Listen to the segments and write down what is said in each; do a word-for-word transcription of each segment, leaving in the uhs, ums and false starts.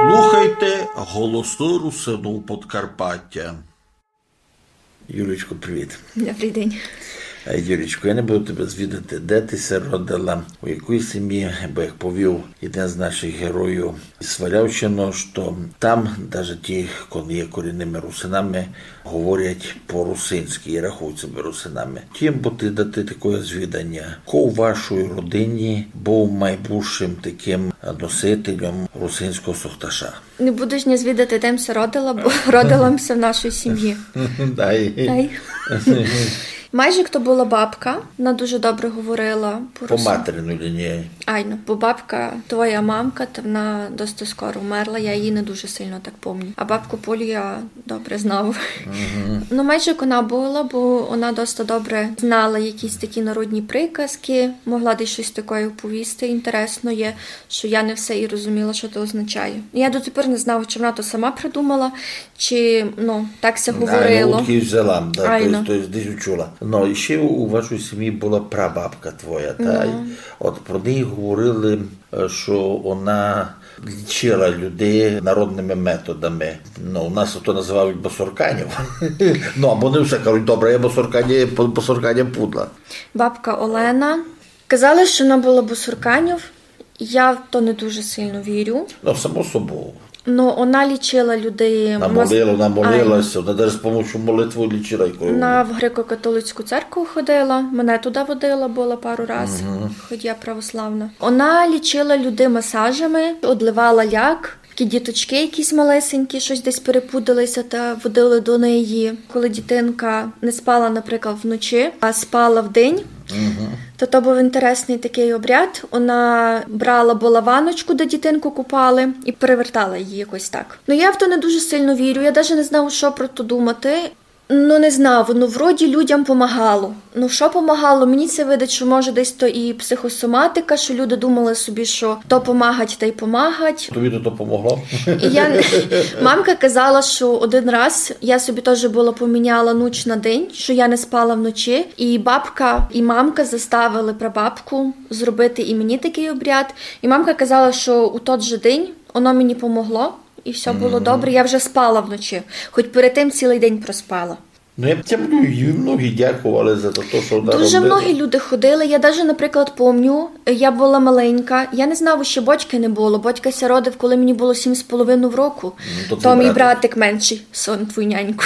Слухайте Голосы Русинув Подкарпатя. Юлічко, привіт. Добрый день. Е, Юлічко, я не буду тебе звідати, де ти ся родила, у якій сім'ї, бо, як повів один з наших героїв із Свалявщины, што там даже ті, котрі є корінныма русинами, говорять по-русинськы і рахують себе русинами. Тім, бо ти дати такоє звіданя, хто у вашій родині быв майбульшым такым носителем русинського сохташа? Не будеш ня звідати, де м ся родила, бо родила м ся в нашій сім'ї. Дай. Дай. Майже хто была бабка, она дуже добре говорила по-русинськы. По материній лінії. Айно, бо бабка, твоя мамка, та она доста скоро вмерла, я її не дуже сильно так помню. А бабку Полю я добре знав. Ну, майже як она была, бо она доста добре знала якісь такі народні приказкы, могла десь штось таке оповісти інтересноє, што я не все і розуміла, што то означає. Я дотепер не знав, чи она то сама придумала, чи, ну, так ся говорило. Айно, удкы взяла, да, то єсть, то єсть десь учула. Ну, і ще у вашій сім'ї была прабабка твоя, та? Ну. От про неї говорили, е, што она лічила людей народныма методами. Ну, у нас то називають босорканів. Ну, або не все кажуть, добре, я босорканя, босорканя пудла. Бабка Олена. Казали, што она была босорканів. Я в то не дуже сильно вірю. Ну, само собою. Ну, она лічила людей. Она мас-, молила, она молила ся, она даже з помощю молитвы лічила якою. Она в греко-католицьку церкву ходила, мене туды водила, была пару раз, хоть я православна. Она лічила людей масажами, одливала ляк, такі діточкы якісь малесенькі, штось десь перепудили ся та водили до неї. Коли дітинка не спала, наприклад, вночі, а спала вдень, то то быв інтересный такый обряд. Она брала была ванночку, де дітинку купали, і перевертала її якось так. Ну, я в то не дуже сильно вірю, я даже не знав, што про то думати. Ну, не знав, ну, вроді людям помагало. Ну, што помагало? Мені ся видить, што, може, десь то і психосоматика, што люди думали собі, што то помагать, та й помагать. Тобі то, то помогло? І я не-, мамка казала, што один раз я собі тоже была поміняла нуч на день, што я не спала вночі. І бабка, і мамка заставили прабабку зробити і мені такый обряд. І мамка казала, што у тот же день оно мені помогло, і всьо было добре. Я вже спала вночі, хоть перед тым цілый день проспала. Ну, я тямлю, і многі дяковали за то, што она робила. Дуже многі люди ходили. Я даже, наприклад, помню, я была маленька, я не знав, іщи батька не было. Батько ся родив, коли мені было сім з половиною року. Ну, то мій братик меншый, сон твій нянько.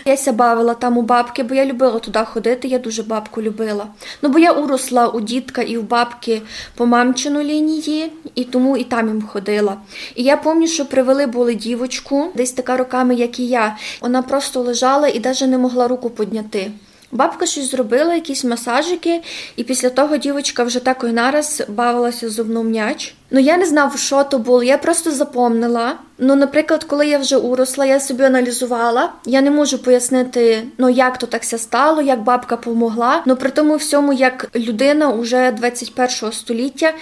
Я ся бавила там у бабки, бо я любила туды ходити, я дуже бабку любила. Ну, бо я уросла у дідка і в бабки по мамчину лінії, і тому і там им ходила. І я помню, што привели были дівочку, десь така роками, як і я. Она просто лежала і даже не могла руку подняти. Бабка штось зробила, якісь масажикы, і після того дівочка вже так і нараз бавила ся зо мнов в мяч. Ну, я не знав, што то было, я просто запомнила. Ну, наприклад, коли я вже уросла, я собі аналізувала, я не можу пояснити, ну, як то так ся стало, як бабка помогла. Ну, при тому всьому, як людина уже двадцять першого століття,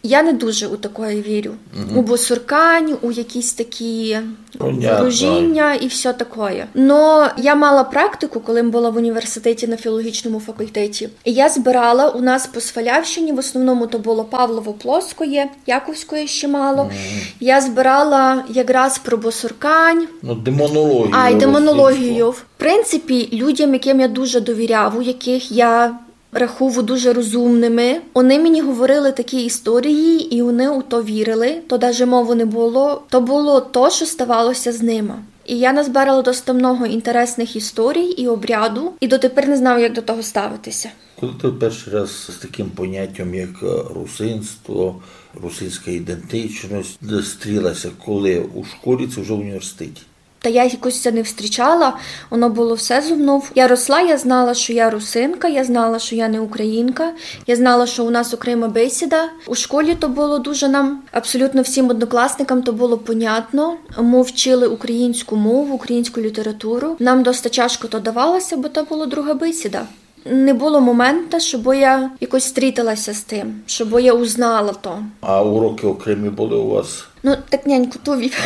я не дуже у такоє вірю. У босоркань, у якісь такі ворожіння і всьо такоє. Но я мала практику, коли м была в університеті на філологічному факультеті. І я збирала, у нас по Свалявщині, в основному то было Павлово-Плоскоє, Яковськоє ще мало. Я збирала якраз про босоркань. Ну, демонологію. Ай, демонологію. В принципі, людям, яким я дуже довіряв, у яких я рахую дуже розумными, они мені говорили такі історії, і они у то вірили, то даже мовы не было. То было то, што ставало ся з нима. І я назбирала доста много інтересных історій і обряду, і дотепер не знаю, як до того ставити ся. Коли ти першый раз з таким понятям, як, е, русинство, русинська ідентичность, стрілася, коли у школі, ци вже в університеті? Та я якось ся не встрічала, воно было все зо мнов. Я росла, я знала, што я русинка, я знала, што я не українка, я знала, што у нас окрема бесіда. У школі то было дуже нам, абсолютно всім однокласникам то было понятно. Мы вчили українську мову, українську літературу. Нам доста тяжко то давало ся, бо то была друга бесіда. Не было момента, щоб я якось стрітила ся з тым, щоб я узнала то. А уроки окремі были у вас? Ну, так няньку ту вів.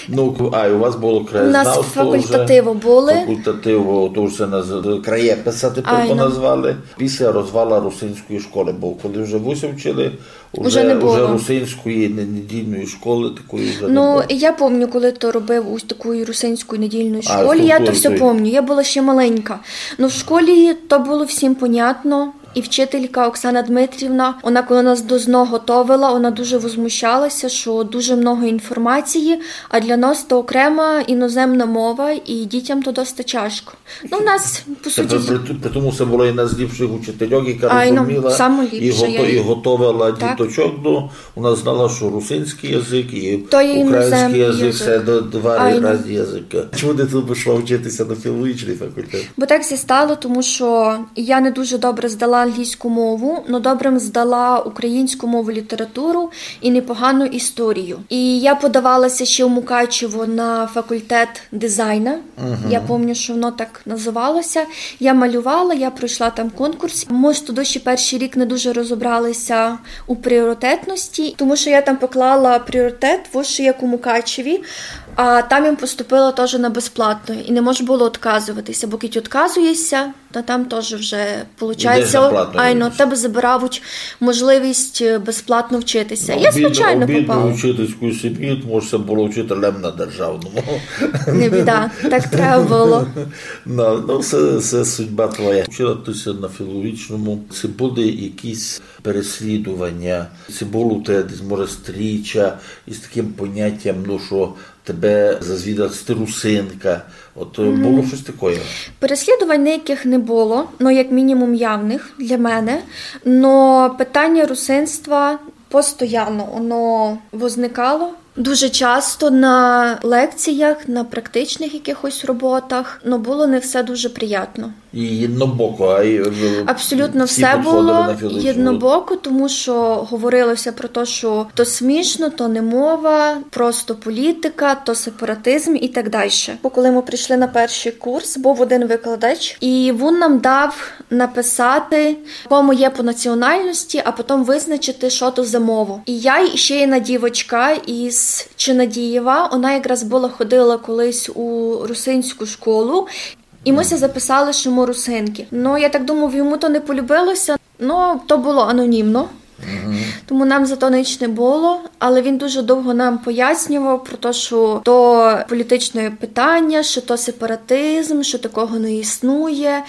Ну, а, і у вас было краєзнавство вже? У нас факультативы были. Факультативы, то вже наз-, краєписа тепер поназвали. Після розвала русинської школы, бо коли вже вы ся вчили, уже, уже русинської не-, недільної школы такої вже не было. Ну, я помню, коли то робив у такої русинської недільної школі, я то всьо помню, я была ще маленька. Ну, в школі то было всім понятно. І вчителька Оксана Дмитрівна, она коли нас до ЗНО готовила, она дуже возмущалася, що дуже много інформації, а для нас то окрема іноземна мова, і дітям то доста тяжко. Ну, у нас, по суті... При, при тому се была єдна з ліпших учительок, яка розуміла і готовила діточок до У нас знала, што русинськый язык і українськый язык, се д-, два різні языкы. Чому ты туй пішла вчити ся на філологічный факультет? Бо так ся стало, тому што я не дуже добре здала англійську мову, но добре м здала українську мову, літературу і непогану історію. І я подавала ся ще в Мукачево на факультет дизайна. Я помню, што воно так называло ся. Я малювала, я пройшла там конкурс. Мы ж тогды ще першый рік не дуже розобрали ся у пріоритетности, тому што я там поклала пріоритет, во што як у Мукачеві, а там я поступила тоже на безплатну. І не можеш было отказовати ся, бо кідь отказуєш ся, та там тоже вже получається, айно, тебе забирають можливість, е, безплатно вчити ся. Я случайно попала. Обідно вчительську сім'ю, тому што было вчителем на державному. Не біда, так треба было. Ну, ну, се, се судьба твоя. Вчила ты ся на філологічному. Ци были якісь переслідуваня, ци было у тебе десь, може, стріча із такым понятям, ну, што тебе зазвідали, што ты русинка. От, е, было штось такоє? Переслідувань ніякых не было, ну, як мінімум явных для мене. Но питаня русинства постоянно, воно возникало. Дуже часто на лекціях, на практичных якыхось роботах, ну, было не всьо дуже приятно. І єднобоко, а й, е, абсолютно всьо было єднобоко, тому што говорило ся про то, што то смішно, то не мова, просто політика, то сепаратизм і так дальше. Бо коли мы прийшли на першый курс, быв один викладач, і вун нам дав написати, кому є по національности, а потом визначити, што то за мова. І я, і ще єдна дівочка із Чинадієва, она якраз была ходила колись у русинську школу, і мы ся записали, што мы русинки. Ну, я так думаю, йому то не полюбило ся. Ну, то было анонімно. Тому нам за то ніч не было, але він дуже довго нам пояснював про то, што то політичне питаня, што то сепаратизм, што такого не існує.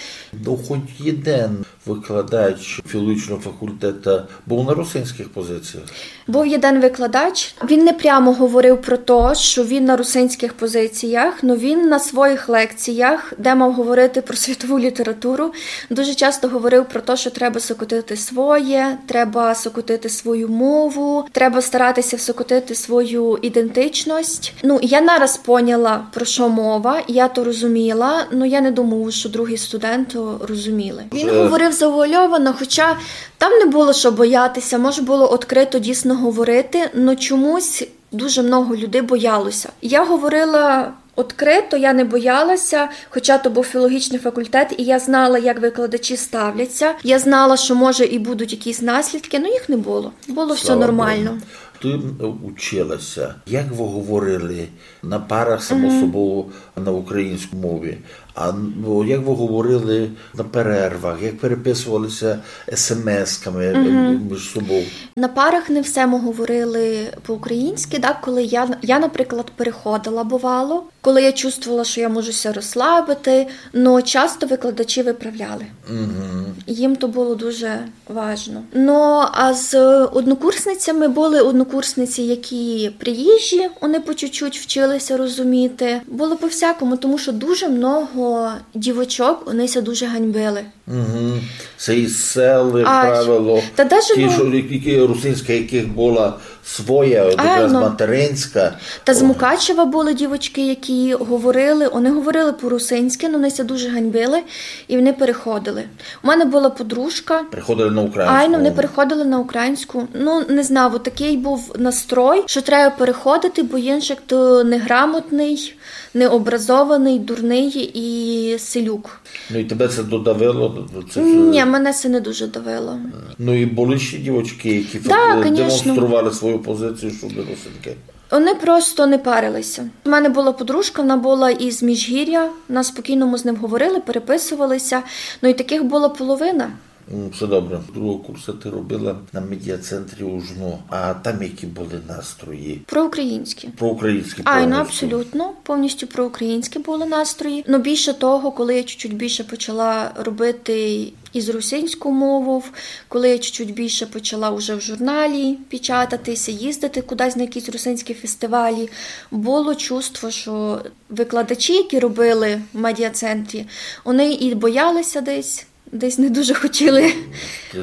Ну, хоть єден викладач філологічного факультета быв на русинськых позиціях? Быв єден викладач. Він не прямо говорив про то, што він на русинськых позиціях, но він на своїх лекціях, де мав говорити про світову літературу, дуже часто говорив про то, што треба сокотити своє, треба сокотити свою мову, треба старати ся всокотити свою ідентичность. Ну, я нараз поняла, про што мова, я то розуміла, но я не думаю, што другі студенты розуміли. Він говорив завуальовано, хоча там не было што бояти ся, мож было відкрыто дійсно говорити, но чомусь дуже много людей бояло ся. Я говорила відкрыто, я не бояла ся, хоча то быв філологічный факультет, і я знала, як викладачі ставлять ся. Я знала, што, може, і будуть якісь наслідкы, но їх не было. Было всьо нормално. Слава Богу. Ты, м, учила ся. Як вы говорили на парах, само собою, на українській мові? А, ну, як вы говорили на перервах, як переписували ся есемесками, е, між собою? На парах не всьо мы говорили по-українськи, так, коли я, я, наприклад, переходила, бувало, коли я чувствовала, што я можу ся розслабити, но часто викладачі виправляли. Їм то было дуже важно. Но, а з однокурсницями были однокурсниці, які приїжджі, вони по чуть-чуть вчили ся розуміти. Было по-всякому, тому што дуже много дівочок, вони ся дуже ганьбили. Мгм. Се із сел, як правило, та даже, ті, ну, што, які, русинська, якых была своя, от якраз материнська. Та з Мукачева были дівочки, які говорили, вони говорили по-русинськи, но вони ся дуже ганьбили, і вони переходили. У мене была подружка. Переходили на українську. Айно, вони переходили на українську. Ну, не знаю, от такый быв настрой, што треба переходити, бо іншак ты неграмотный, необразованый, дурный і селюк. Ну, і тебе се додавило? Ні, мене се не дуже давило. Ну, і были ще дівочки, які демонстрували свою позицію щодо русинки? Вони просто не парилися. У мене була подружка, вона була із Міжгір'я, на спокійному з ним говорили, переписувалися. Ну і таких була половина. М, все добре. Другого курсу ти робила на медіацентрі у жну. А там які були настрої? Проукраїнські. Проукраїнські. Ай, ну, повністю. Абсолютно, повністю проукраїнські були настрої. Ну, більше того, коли я чуть-чуть більше почала робити із русинською мовою, коли я чуть-чуть більше почала вже в журналі печататися, їздити кудись на якісь русинські фестивалі, було чувство, що викладачі, які робили в медіацентрі, вони і боялися десь, десь не дуже хотіли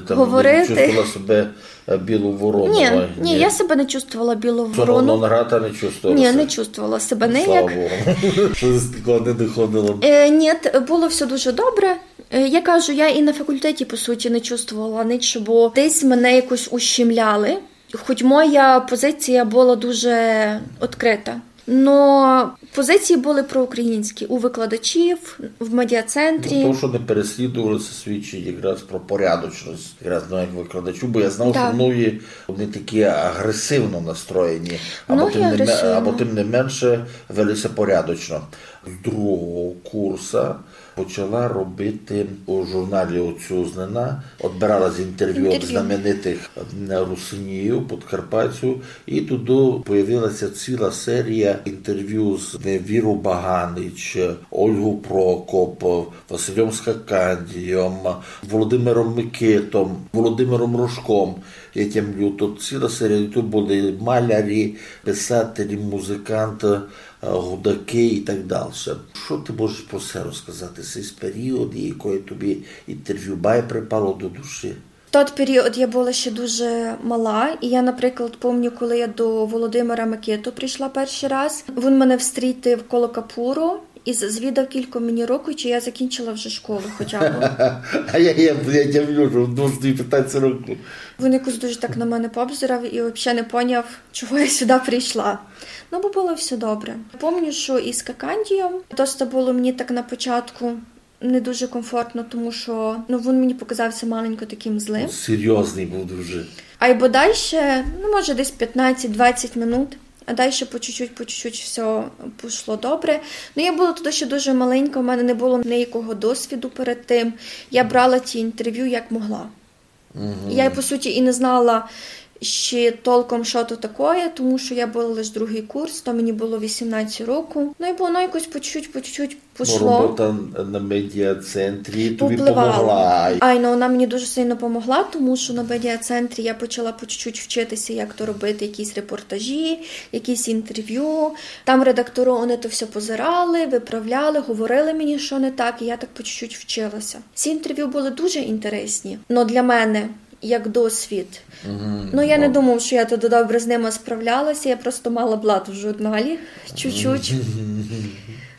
говорити. Ти там не чувствувала себе, е, білу ворону? Ні, ні, я себе не чувствувала білу ворону. Соромно грати не чувствувала? Ні, не чувствувала себе ніяк. Слава Богу. Щось такого не доходило? Е, ні, було все дуже добре. Е, я кажу, я і на факультеті, по суті, не чувствувала нічого, бо десь мене якось ущемляли. Хоч моя позиція була дуже відкрита, но позиції були проукраїнські у викладачів, в медіацентрі. Ну, то, що не переслідувалися, свідчить якраз про порядочність, якраз, ну, як викладачу, бо я знав, що многі, вони такі агресивно настроєні, або тим не ме-, або тим не менше вели ся порядочно. З другого курса почала робити у журналі «Отцюзнина», одбирала з інтерв'ю від знаменитих, м, русинів, подкарпатців, і туды появилася ціла серія інтерв'ю з Вірою Баганич, Ольгою Прокоп, Василем Скакандієм, Володимиром Микитом, Володимиром Рожком. Я тямлю, то ціла серія, то були малярі, писателі, музиканти, е, гудакы і так дальше. Што ты можеш про се розказати, сей період, і якоє тобі інтерв'ю май припало до душі? В тот період я була ще дуже мала, і я, наприклад, помню, коли я до Володимира Микиту прийшла перший раз, він мене встрітив коло капуру і з-, звідав, кілько мені року, чи я закінчила вже школу хоча б. А я, я, я тямлю, що в двадцять п'ять років. Він якось дуже так на мене пообзирав і взагалі не поняв, чого я сюди прийшла. Ну, бо було все добре. Помню, що із Скакандієм доста було мені так на початку не дуже комфортно, тому що, ну, він мені показався маленько таким злим. Ну, серйозний був дуже. Айбо дальше, ну, може, десь пятнадцять-двадцять минут, а дальше по чуть-чуть, по чуть-чуть все пішло добре. Ну, я була тоді ще дуже маленька, у мене не було ніякого досвіду перед тим. Я брала ті інтерв'ю як могла. Я, по суті, і не знала ще толком, що то таке, тому що я була лише другий курс, то мені було вісімнадцять років. Ну, і воно якось по чуть-чуть, по чуть-чуть пішло. Бо робота на медіацентрі тобі помогла. Ай, ну, вона мені дуже сильно помогла, тому що на медіацентрі я почала по чуть-чуть вчитися, як то робити, якісь репортажі, якісь інтерв'ю. Там редактори, вони то все позирали, виправляли, говорили мені, що не так, і я так по чуть-чуть вчилася. Ці інтерв'ю були дуже інтересні, но для мене як досвід. Ну, я не думав, що я туди добре з ними справлялася, я просто мала блат в журналі, чуть-чуть.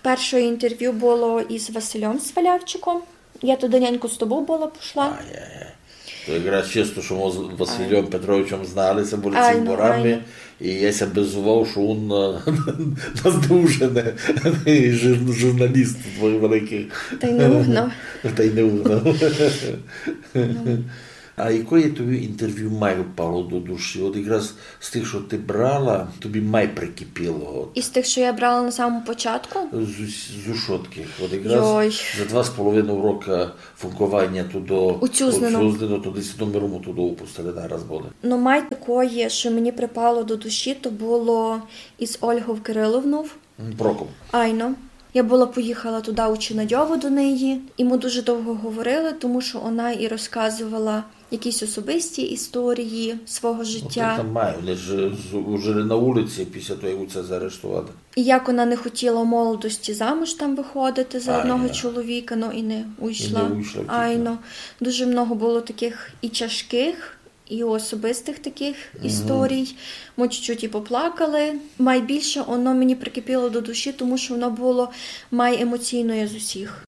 Перше інтерв'ю було із Василем Свалявчиком. Я туди няньку з тобою була пішла. Ай-яй-яй. То якраз чисто, що ми з Василем Петровичем зналися, були цімборами, і я ся бизував, що він, е, нас дуже не, жур-, журналіст твоїх великих. Та й не угнав. Та й не угнав. А якоє тобі інтерв'ю май впало до душі? От якраз з тих, що ти брала, тобі май прикипіло? От. Із тих, що я брала на самому початку? З, з ушотких. От якраз за два з половиною роки функованя туды у Цюзнину, туды з номером туды упустили, нараз були. Но май такоє, що мені припало до душі, то було із Ольгов Кириловнов. Прокоп. Айно. Я була поїхала туды у Чинадьово до неї, і ми дуже довго говорили, тому що вона і розказувала якісь особисті історії свого життя. Ну, так там май, вони ж з-, жили на улиці після того, як усе заарештували. І як вона не хотіла в молодості замуж там виходити за одного чоловіка, но і не уйшла. І не уйшла, тільки. Айно. Дуже много було таких і тяжких, і особистих таких історій. Ми чуть-чуть і поплакали. Май більше воно мені прикипіло до душі, тому що воно було май емоційноє з усіх.